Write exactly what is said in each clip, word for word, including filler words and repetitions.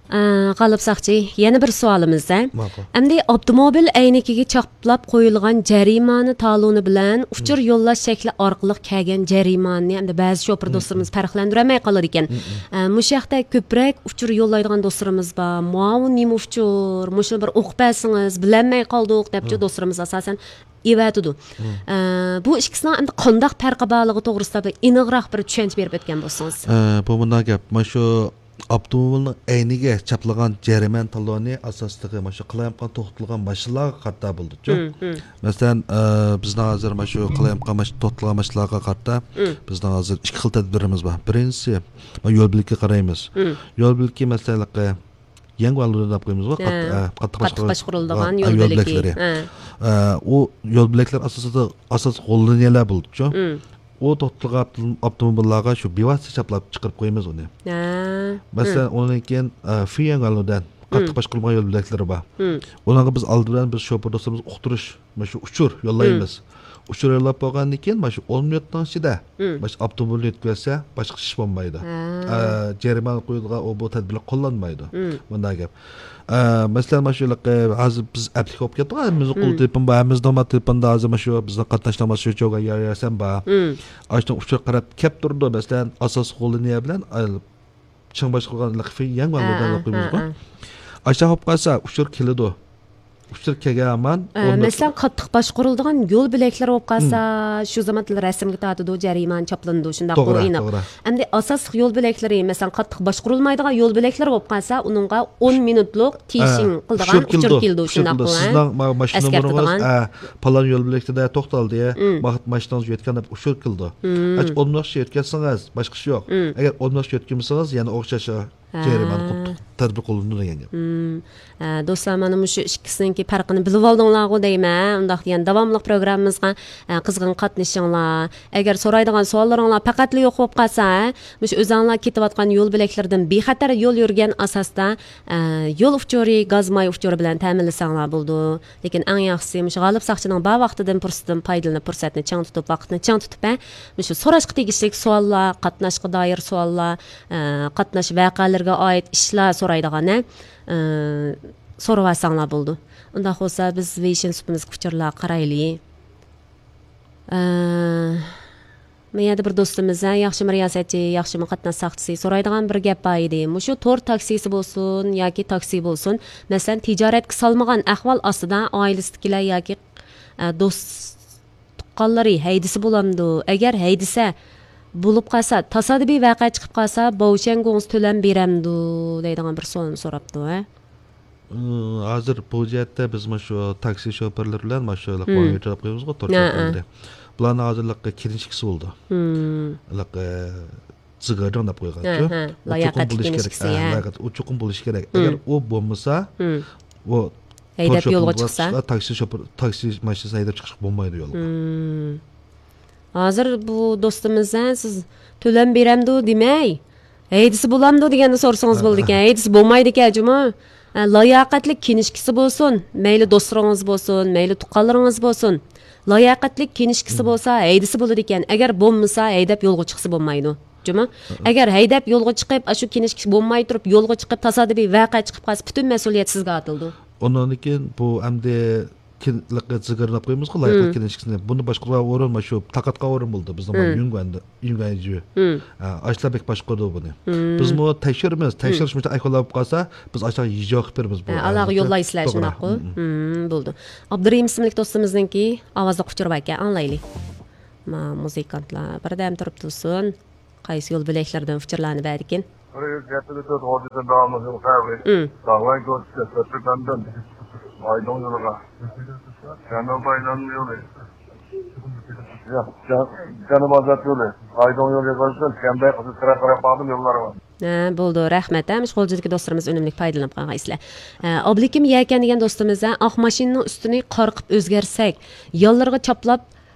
ئە، غالىپ ساقچى، يەنە بىر سوئالىمىز، ھە؟ ماقۇل. ئەمدى ئاپتوموبىل ئەينىكىگە چاپلاپ قويۇلغان جەرىمانە تالونى بىلەن ئۇچۇر يوللاش شەكلى ئارقىلىق كەلگەن جەرىمانىنى ئەمدى بەزى شوپۇر دوستلىرىمىز پەرقلەندۈرەلمەي قالىدىكەن. ئە، مۇشۇ ھەقتە كۆپرەك ئۇچۇر يوللايدىغان دوستلىرىمىز بار. ماۋۇ نېمە ئۇچۇر؟ مۇشۇنى بىر ئوقۇپ بەرسىڭىز، بىلەلمەي قالدۇق، دەپچۇ دوستلىرىمىز ئاساسەن ئېۋەتىدۇ. ئە، بۇ ئىككىسىنىڭ ئەمدى قانداق پەرقى بارلىقى توغرىسىدا بىر ئېنىقراق بىر چۈشەنچە بېرىپ ئۆتكەن بولسىڭىز. ئە، بۇ مۇنداق گەپ. مانا شۇ ئاپتوموبىلنىڭ ئەينىگە چاپلىغان جەرىمانە تالونى ئاساسلىقى مانا شۇ قالايمىقان توختىتىلغان ماشىنىلارغا قارىتا بولىدۇچۇ. مەسىلەن، ئە، بىزنىڭ ھازىر مانا شۇ قالايمىقان ماش-، توختىتىلغان ماشىنىلارغا قارىتا بىزنىڭ ھازىر ئىككى خىل تەدبىرىمىز بار. بىرىنچىسى، مانا يول بۆلىكى قارايمىز. يول بۆلىكى مەسىلەن، يەڭگۈەن دەپ قويىمىزغۇ، قاتتىق، ھە، ئە، قاتتىق قاتتىق باشقۇرۇلىدىغان، باشقۇرۇلىدىغان، ئە، يول يول بۆلىكى. بۆلەكلىرى. ھە. ئە، ئۇ يول بۆلەكلىرى ئاساسىدا، ئاساسلىق غوللىنىيەلەر بولىدۇچۇ. ئۇ توختىتىلغان ئاپتوموبىللارغا شۇ بىۋاسىتە چاپلاپ چىقىرىپ قويىمىز ئۇنى. ھە. مەسىلەن، ئۇنىڭدىن كېيىن، ئە، فېيەنگەنلۇدەن قاتتىق باشقۇرۇلمىغان يول بۆلەكلىرى بار. ئۇلارغا بىز ئالدى بىلەن بىز شوپۇر دوستلىرىمىزغا ئۇقتۇرۇش، مانا شۇ ئۇچۇر يوللايمىز. ئۇچۇر يوللاپ بولغاندىن كېيىن، مانا شۇ ئون مىنۇتنىڭ ئىچىدە، مانا شۇ ئاپتوموبىلنى يۆتكىۋەتسە، باشقا ئىش بولمايدۇ. ئە، جەرىمانە قويىدىغان ئۇ، بۇ تەدبىرلەر قوللانمايدۇ. مۇنداق گەپ. ئە، مەسىلەن، مانا شۇ ھېلىقى ھازىر بىز ئەپلىك بولۇپ كەتتۇق، ھەممىمىزنىڭ قولىدا تېلېفون بار، ھەممىمىزنىڭ تېلېفوندا ھازىر مانا شۇ بىزنىڭ قاتناشتىمىز شۇ چوگان يار يارسەن بار. ئاشۇنىڭ ئۇچۇر قاراپ كەپ تۇرىدۇ، مەسىلەن، ئاساسلىق غوللىنىيە بىلەن، ئە، چىڭ باشقۇرغان لىقفى يەڭ ھە، ۋالدىدان ھە، قويمىزغۇ. ھە. ئاشۇنداق بولۇپ قالسا، ئۇچۇر كېلىدۇ. ئۇچۇر كەلگەن ھامان ئە، ئورنىدا مەسىلەن، قاتتىق باشقۇرۇلىدىغان يول بۆلەكلىرى بولۇپ قالسا، شۇ زاماندا رەسىمگە تارتىدۇ، جەرىمانە چاپلىنىدۇ، شۇنداققۇ، توغرا، ئېنىق. توغرا. ئەمدى ئاساسلىق يول بۆلەكلىرى، مەسىلەن، قاتتىق باشقۇرۇلمايدىغان يول بۆلەكلىرى بولۇپ قالسا، ئۇنىڭغا ئون مىنۇتلۇق تىيىشىڭ ئە، قىلىدىغان ئۇچۇر كېلىدۇ، شۇنداققۇ، ھە؟ سىزنىڭ ما-، ماشىنا نومۇرىڭىز، ئە، پالان يول بۆلەكتە توختالدى، ما-، ماشىنىڭىز يۆتكەن دەپ ئۇچۇر كېلىدۇ. ئەچ ئون مىنۇت يۆتكەنسىڭىز، باشقا ئىش يوق. ئەگەر ئون مىنۇت يۆتكىمىسىڭىز، يەنە ئوخشاش ھە. جەرىمانە قىلىپ تەدبىر قوللىنىدۇ دېگەن گەپ. ھە، دوستلار، مانا مۇشۇ ئىككىسىنىڭكى پەرقىنى بىلىۋالدىڭلارغۇ دەيمەن. ئۇنداق دېگەن داۋاملىق پروگراممىمىزغا، ئە، قىزغىن قاتنىشىڭلار. ئەگەر سورايدىغان سوئاللىرىڭلار پەقەتلا يوق بولۇپ قالسا، ھە، مۇشۇ ئۆزۈڭلار كېتىۋاتقان يول بۆلەكلىرىدىن بىخەتەر يول يۈرگەن ئاساستا، ئە، يول ئۇچۇرى، گاز ماي ئۇچۇرى بىلەن تەمىنلىسەڭلار بولىدۇ. لېكىن ئەڭ ياخشىسى مۇشۇ غالىپ ساقچىنىڭ بار ۋاقتىدىن، پۇرسىتىدىن پايدىلىنىپ، پۇرسەتنى چىڭ تۇتۇپ، ۋاقىتنى چىڭ تۇتۇپ، ھە، مۇشۇ سوراشقا تېگىشلىك سوئاللار، قاتناشقا دائىر سوئاللار، ئە، قاتناش ۋەقەلىرىگە ئائىت ئىشلار سورايدىغان، ھە، ئە، سورىۋالساڭلار بولىدۇ. ئۇنداق بولسا، بىز ۋېيشىن سۇپىمىزغا ئۇچۇرلارغا قارايلى. ئە، مۇ يەردە بىر دوستىمىز، ھە، ياخشىمۇ رىياسەتچى، ياخشىمۇ قاتناش ساقچىسى، سورايدىغان بىر گەپ بار ئىدى. مۇشۇ تور تاكسىسى بولسۇن ياكى تاكسى بولسۇن، مەسىلەن، تىجارەتكە سالمىغان ئەھۋال ئاستىدا ئائىلىسىدىكىلەر ياكى، ئە، دوست تۇغقانلىرى ھەيدىسە بولامدۇ؟ ئەگەر ھەيدىسە، بولۇپ قالسا، تاسادىپىي ۋەقە چىقىپ قالسا، باۋشيەنگوڭسى تۆلەم بېرەمدۇ؟ دەيدىغان بىر سوئالنى سوراپتۇ، ھە؟ ئى، ھازىر بۇ جەھەتتە بىز مۇشۇ تاكسى شوپۇرلىرى بىلەن مۇشۇ ھېلىقى ۋاڭيۈ تەرەپ قويىمىزغۇ، تور شوپۇرلىرى. بۇلارنىڭ ھازىر ھېلىقى كىنىشكىسى بولىدۇ. ھېلىقى زىگېرنىڭ دەپ قويغانچۇ. ھە، ھە. ئۇ چوقۇم لاياقەتلىك بولۇشى كېرەك. كىنىشكىسى، ھە، ھە. لاياقەت-، ئۇ چوقۇم بولۇشى كېرەك. ئەگەر ئۇ بولمىسا، ئۇ ھەيدەپ تور يولغا شوپۇرغا چىقسا؟ تاكسى شوپۇر، تاكسى ماشىنىسىنى ھەيدەپ چىقىشقا بولمايدۇ يولغا. ھازىر بۇ دوستىمىز، ھە، سىز تۆلەم بېرەمدۇ دېمەي، ھەيدىسە بولامدۇ دېگەننى سورىسىڭىز بولىدىكەن. ھەيدىسە بولمايدىكەن جۇمۇ. ھە، لاياقەتلىك كىنىشكىسى بولسۇن، مەيلى دوستلىرىڭىز بولسۇن، مەيلى تۇغقانلىرىڭىز بولسۇن. لاياقەتلىك كىنىشكىسى بولسا ھەيدىسە بولىدىكەن. ئەگەر بولمىسا، ھەيدەپ يولغا چىقسا بولمايدۇ. جۇمۇ. ئەگەر ھەيدەپ يولغا چىقىپ، ئاشۇ كىنىشكىسى بولماي تۇرۇپ يولغا چىقىپ، تاسادىپىي ۋەقە چىقىپ قالسا، پۈتۈن مەسئۇلىيەت سىزگە ئاتىلىدۇ. ئۇنىڭدىن كېيىن بۇ ئەمدى كىن-، لىقى زىگىرنى دەپ قويىمىزغۇ، لايىقلىق كىنىشكىسىنى. بۇنى باشقۇرغان ئورۇن مانا شۇ تارقاتقان ئورۇن بولدى. بىزنىڭ بۇ يۈنگەن، يۈنگەنجۈ. ئە، ئاشۇلار بەك باشقۇرىدۇ بۇنى. بىزمۇ تەكشۈرىمىز، تەكشۈرۈش مۇشۇنداق ئەھۋال بولۇپ قالسا، بىز ئاشۇلارغا يېجاۋاق قىلىپ بېرىمىز بۇ. ھە، ئالاغا يوللايسىلەر، شۇنداققۇ؟ بولدى. بولدى. ئابدۇرېھىم ئىسىملىك دوستىمىزنىڭكى ئاۋازلىق ئۇچۇرى باركەن، ئاڭلايلى. ما، مۇزىكانتلار بىردەم تۇرۇپ تۇرسۇن. قايسى يول بۆلەكلىرىدىن ئۇچۇرلارنى بەردىكىن؟ بىر يۈز يەتتە تۆت غوجىدىن داۋاملىشىدۇ. داۋاي گۆشى، سۆتلۈكەندىن ئايدىڭ يولىغا. جەنۇبىي ئايلانما يولى. ياق، جەن-، جەنۇبىي ئازاد يولى. ئايدىڭ يولى يىغىلسۇن، شەنبە قىزىل چىراغ قاراپ باردىم يوللارغا. ھە، بولدى، رەھمەت. ھە، مۇشۇ غۇلجىدىكى دوستلىرىمىز ئۈنۈملۈك پايدىلىنىپ قالغان ئىسلەر. ھە، ئابلىكىم يەكەن دېگەن دوستىمىز، ھە، ئاق ماشىنىنىڭ ئۈستىنى قارقىپ ئۆزگەرتسەك، يانلىرىغا چاپلاپ،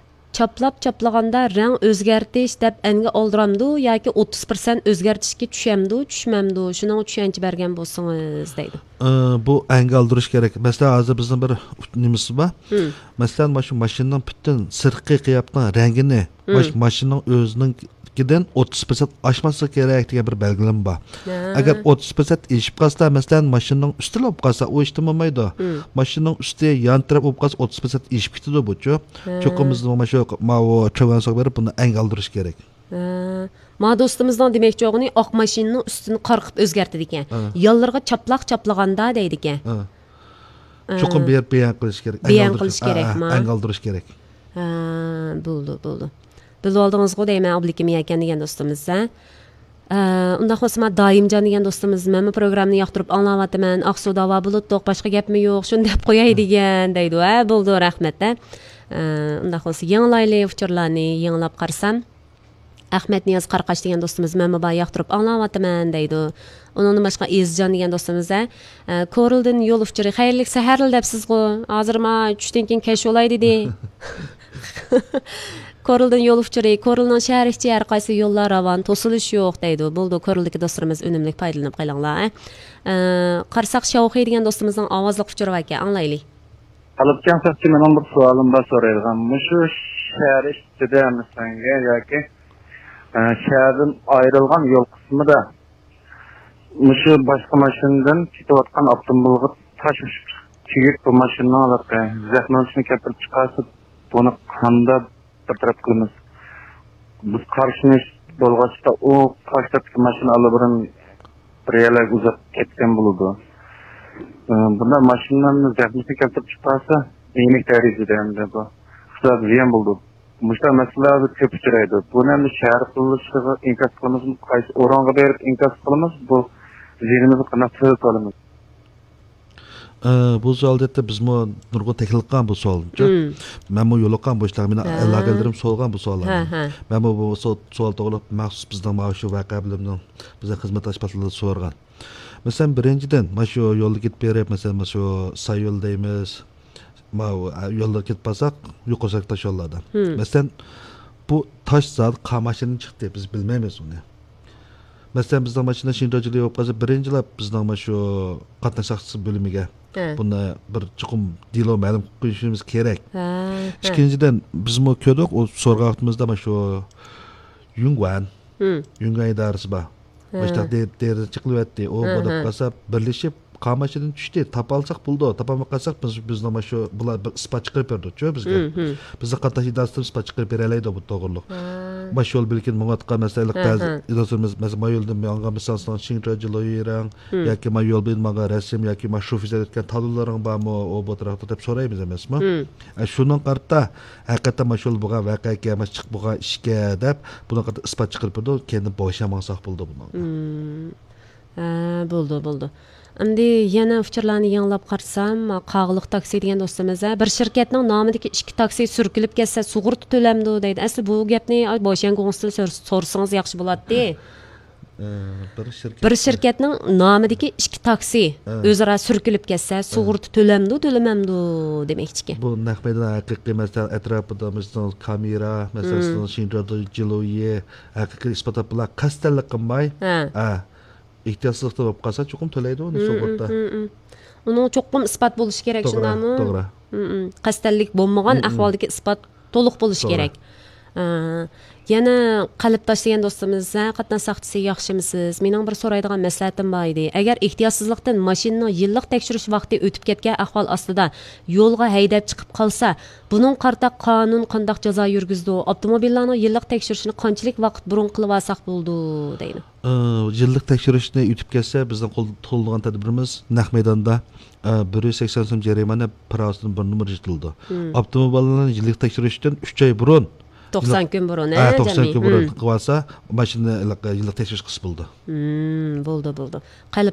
چاپلاپ چاپلىغاندا رەڭ ئۆزگەرتىش دەپ ئەنگە ئالدۇرامدۇ ياكى ئوتتۇز پىرسەنت ئۆزگەرتىشكە چۈشەمدۇ، چۈشمەمدۇ؟ شۇنىڭغا چۈشەنچە بەرگەن بولسىڭىز دەيدۇ. ئى، بۇ ئەنگە ئالدۇرۇش كېرەك. مەسىلەن، ھازىر بىزنىڭ بىر نېمىسى بار. مەسىلەن، مانا شۇ ماشىنىنىڭ پۈتۈن سىرتقى قىياپىتىنىڭ رەڭگىنى ماش-، ماشىنىنىڭ ئۆزىنىڭكىدىن ئوتتۇز پىرسەنت ئاشماسلىقى كېرەك دېگەن بىر بەلگىلىمە بار. ھە. ئەگەر ئوتتۇز پىرسەنت ئېشىپ قالسا، مەسىلەن، ماشىنىنىڭ ئۈستىلا بولۇپ قالسا، ئۇ ھېچنېمە بولمايدۇ. ماشىنىنىڭ ئۈستى يان تەرەپ بولۇپ قالسا، ئوتتۇز پىرسەنت ئېشىپ كېتىدۇ بۇچۇ. ھە. چوقۇم بىز مانا شۇ، ماۋۇ چۆگەنسوغا بېرىپ بۇنى ئەنگە ئالدۇرۇش كېرەك. ھە. ما دوستىمىزنىڭ دېمەكچى بولغىنى ئاق ماشىنىنىڭ ئۈستىنى قارقىپ ئۆزگەرتىدىكەن. ھە. يانلىرىغا چاپلاق چاپلىغاندا دەيدىكەن. ھە. چوقۇم بىر بەيان قىلىش كېرەك. بەيان قىلىش كېرەكما؟ ئەنگە ئالدۇرۇش كېرەك. ھە، بولدى، بولدى. بىلىۋالدىڭىزغۇ دەيمەن، ئابلىكىم يەكەن دېگەن دوستىمىز، ھە؟ ئە، ئۇنداق بولسا، ما دائىمجان دېگەن دوستىمىز، مەنمۇ پروگراممىنى ياقتۇرۇپ ئاڭلاۋاتىمەن، ئاقسۇ داۋا بولۇتتۇق، باشقا گەپمۇ يوق، شۇنى دەپ قوياي دېگەن دەيدۇ. ھە، بولدى، رەھمەت، ھە. ئە، ئۇنداق بولسا، يېڭىلايلى ئۇچۇرلارنى، يېڭىلاپ قارىسام. ئەخمەتنىياز قاراقاش دېگەن دوستىمىز، مەنمۇ بار ياقتۇرۇپ ئاڭلاۋاتىمەن دەيدۇ. ئۇنىڭدىن باشقا ئېزىزجان دېگەن دوستىمىز، ھە، ئە، كورلىدىن يول ئۇچۇرى، خەيرلىك سەھەرلەر دەپسىزغۇ. ھازىر ما چۈشتىن كېيىن كەچ بولاي دېدى. كورلىدىن يول ئۇچۇرى، كورلنىڭ شەھەر ئىچى ھەر قايسى يوللار راۋان، توسۇلۇش يوق دەيدۇ. بولدى، كورلدىكى دوستلىرىمىز ئۈنۈملۈك پايدىلىنىپ قېلىڭلار، ھە. ئە، قارىساق شاۋخۇي دېگەن دوستىمىزنىڭ ئاۋازلىق ئۇچۇرى باركەن، ئاڭلايلى. تالىپجان ساقچى، مېنىڭ بىر سوئالىم بار سورايدىغان. مۇشۇ شەھەر ئىچىدە مەسىلەنگە ياكى، ئە، شەھەردىن ئايرىلغان يول قىسمىدا مۇشۇ باشقا ماشىنىدىن كېتىۋاتقان ئاپتوموبىلغا تاش تېگىپ، بۇ ماشىنىنىڭ ھېلىقى زەخمىسىنى كەلتۈرۈپ چىقارسا، بۇنى قانداق بىر تەرەپ قىلىمىز؟ بىز قارشى بولغاچقا، ئۇ قارشى تەرەپتىكى ماشىنا ئاللىبۇرۇن بىر يەرلەرگە ئۇزاپ كەتكەن بولىدۇ. ئى، بۇنداق ماشىنىلارنى زەخمىسىنى كەلتۈرۈپ چىقارسا، يېنىك دەرىجىدە ئەمدى بۇ ئىقتىسادقا زىيان بولىدۇ. مۇشۇنداق مەسىلىلەر كۆپ ئۇچرايدۇ. بۇنى ئەمدى شەھەر قۇرۇلۇشىغا ئىنكاس قىلىمىزمۇ؟ قايسى ئورۇنغا بېرىپ ئىنكاس قىلىمىز؟ بۇ زىيىنىمىزنى قانداق تۆلەپ ئالىمىز؟ ئە، بۇ سوئال دەتتە بىزمۇ نۇرغۇن تەكلىپ قىلغان بۇ سوئالنى. مەنمۇ يولۇققان بۇ ئىشلارغا، مېنىڭ ھە. ئالاقىدارلىرىم سورىغان بۇ سوئاللارنى. ھە، ھە. مەنمۇ بۇ سو-، سوئال توغرىلىق مەخسۇس بىزنىڭ مانا شۇ ۋەقە بۆلۈمىنىڭ بىزنىڭ خىزمەت ئاشپازلىرىدىن سورىغان. مەسىلەن، بىرىنچىدىن، مانا شۇ يولدا كېتىپ بېرىپ، مەسىلەن، مانا شۇ ساييول دەيمىز، ماۋۇ، ئە، يوللارغا كېتىپ بارساق، يۇقىرى سۈرئەتلىك تاش يوللاردا. مەسىلەن، بۇ تاش زادى قايسى ماشىنىدىن چىقتى، بىز بىلمەيمىز ئۇنى. مەسىلەن، بىزنىڭ ماشىنا شىنجاڭ جىلى بولۇپ قالسا، بىرىنچىلەپ بىزنىڭ مانا شۇ قاتناش ساقچىسى بۆلۈمىگە ھە. بۇنى بىر چوقۇم دېلو مەلۇم قىلىپ قويۇشىمىز كېرەك. ھە، ھە. ئىككىنچىدىن، بىزمۇ كۆردۇق، ئۇ سورىغان ۋاقتىمىزدا مانا شۇ يۇڭگۇەن، يۇڭگۇەن ئىدارىسى بار. ھە. مۇشۇنداق دېرىزە چېقىلىۋەتتى. ئۇ ھە، بولۇپ ھە. قالسا، بىرلىشىپ قايسى ماشىنىدىن چۈشتى، تاپالىساق بولىدۇ. تاپالماي قالساق، بىز، بىزنىڭ مانا شۇ، بۇلار بىر ئىسپات چىقىرىپ بېرىدۇچۇ بىزگە. بىزنىڭ قاتناش ئىدارىسىدىن ئىسپات چىقىرىپ بېرەلەيدۇ بۇ توغرۇلۇق. ھە. مانا شۇ يول بېلىكىدىن ماڭىۋاتقان، مەسىلەن، ھە، بەزى ھە. ئىدارىلىرىمىز، مەسىلەن، مانا يولدىن ماڭغان، مىسال، شىڭجياڭ جىلۇيىرىڭ ياكى مانا يول بويىدا ماڭغان رەسىم ياكى مانا شۇ فىزا ئۆتكەن تالونلىرىڭ بارمۇ، ئۇ بۇ تەرەپتە دەپ سورايمىز ئەمەسمۇ؟ ئە، شۇنىڭغا قارىتا، ھەقىقەتەن مانا شۇ يول بولغان ۋەقە ئىكەن، مانا چىقىپ بولغان ئىشكەن دەپ، بۇنىڭغا قارىتا ئىسپات چىقىرىپ بېرىدۇ، كەينىدىن بوشاپ ماڭساق بولىدۇ بۇنىڭغا. ھە، بولدى، بولدى. ئەمدى يەنە ئۇچۇرلارنى يېڭىلاپ قارىسام، قاغىلىق تاكسى دېگەن دوستىمىز، ھە، بىر شىركەتنىڭ نامىدىكى ئىككى تاكسى سۈركىلىپ كەتسە، سۇغۇرتا تۆلەمدۇ دەيدۇ. ئەسلى بۇ گەپنى، ئاي، بوشيەن گۇڭسىدىن سور-، سورىسىڭىز ياخشى بولاتتى. ئە، بىر شىركەت. بىر شىركەتنىڭ نامىدىكى ئىككى تاكسى ئە. ئۆزئارا سۈركىلىپ كەتسە، ئە. سۇغۇرتا تۆلەمدۇ، تۆلىمەمدۇ دېمەكچىكەن. بۇ نەق مەيدان ھەقىقىي، مەسىلەن، ئەتراپىدا، مەسىلەن، كامېرا، مەسىلەن، مم. شىنجياڭ جىلۇيى، ھەقىقىي ئىسپات بىلەن قەستەنلىك قىلماي، ھە. ئە، ئېھتىياتسىزلىقتا بولۇپ قالسا، چوقۇم تۆلەيدۇ ئۇنى مم، سۇغۇرتا. مم، مم. ئۇنىڭ چوقۇم ئىسپات بولۇشى كېرەك، توغرا، شۇنداقمۇ؟ توغرا. مم، مم. قەستەنلىك بولمىغان مم، مم. ئەھۋالدىكى ئىسپات تولۇق بولۇشى توغرا. كېرەك. ئە، يەنە قەلبداش دېگەن دوستىمىز، ھە، قاتناش ساقچىسى، ياخشىمۇسىز؟ مېنىڭ بىر سورايدىغان مەسلىھەتىم بار ئىدى. ئەگەر ئېھتىياتسىزلىقتىن ماشىنىنىڭ يىللىق تەكشۈرۈش ۋاقتى ئۆتۈپ كەتكەن ئەھۋال ئاستىدا يولغا ھەيدەپ چىقىپ قالسا، بۇنىڭغا قارىتا قانۇن قانداق جازا يۈرگۈزىدۇ؟ ئاپتوموبىللارنىڭ يىللىق تەكشۈرۈشىنى قانچىلىك ۋاقىت بۇرۇن قىلىۋالساق بولىدۇ؟ دەيدۇ. ئى، يىللىق تەكشۈرۈشنى ئۆتۈپ كەتسە، بىزنىڭ قول-، قوللىنىدىغان تەدبىرىمىز نەق مەيداندا، ئى، بىر يۈز سەكسەن سوم جەرىمانە پىراۋىسىدىن بىر نومۇر يېتىلىدۇ. مم. ئاپتوموبىللارنى يىللىق تەكشۈرۈشتىن ئۈچ ئاي بۇرۇن، توقسان يىللىق، كۈن بۇرۇن، ھە، ھە، توقسان جەمئىي. كۈن بۇرۇن مم. قىلىۋالسا، ماشىنىنى يىللىق، يىللىق تەكشۈرۈش قىلسا بولىدۇ. مم، بولدى، بولدى. قەلب